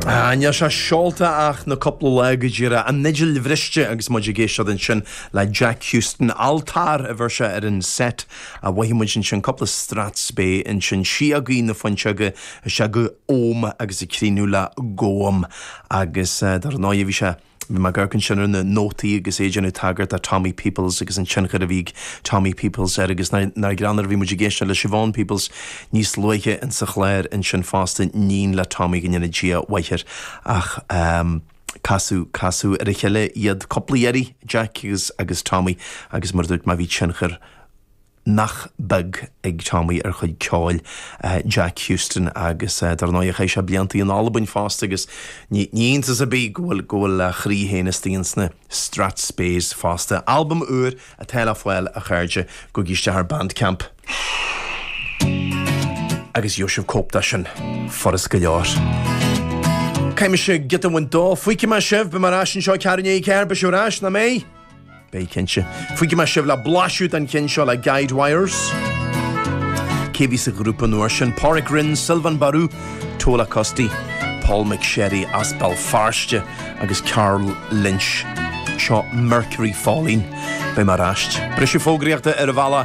Ah, níl sé seolta ach na cúpla lá go díreach. An fhidil bhriste agus muid ag éisteacht ansin le Jack Houston. Altar a bheir sé ar an set a mhothaigh muid ansin, cúpla Strathspey ansin, síogaí na fuinseoga isteach go Om agus ag críochnú le Góm agus dar ndóigh bhí sé Bhí mé ag amharc ansin ar na nótaí agus é ag déanamh tagairt do Tommy Peoples agus an tionchar a bhí ag Tommy Peoples air agus nár greannmhar bhí muid ag éisteacht le Siobhán Peoples níos luaithe insa chlár ansin fosta, níon le Tommy go ndéana Dia mhaith air ach casadh, casadh ar a chéile iad cúpla iarraidh, Jack agus, agus Tommy agus mar a dúirt mé bhí tionchar nach beag ag Tommy ar chuid ceoil Jack Houston agus dar ndóigh chaith sé blianta in Albain fosta agus ní iontas ar bith go bhfuil go bhfuil a chroí féin istigh ins na Strathspeys fosta. Albam úr atá le fáil a chairde, gabhaigí isteach ar Bandcamp agus gheobhaidh sibh cóip de sin furast go leor. Caithfidh mise giota a bhaint dó, fágfaidh mé sibh, beidh mé ar ais anseo 3:15, beidh sibh ar ais, nach mbeidh? Beidh cinnte. Fágfaidh mé sibh le blaiseadh den cheann seo le Guide Wires. Cé bhí sa ghrúpa an uair sin? Pádraic Rynne, Sylvain Barou, Tola Custy, Paul McSherry as Béal Feirste agus Karl Lynch. Seo Mercury Falling. Beidh mé ar ais. Briseadh fógraíochta ar an bhealach.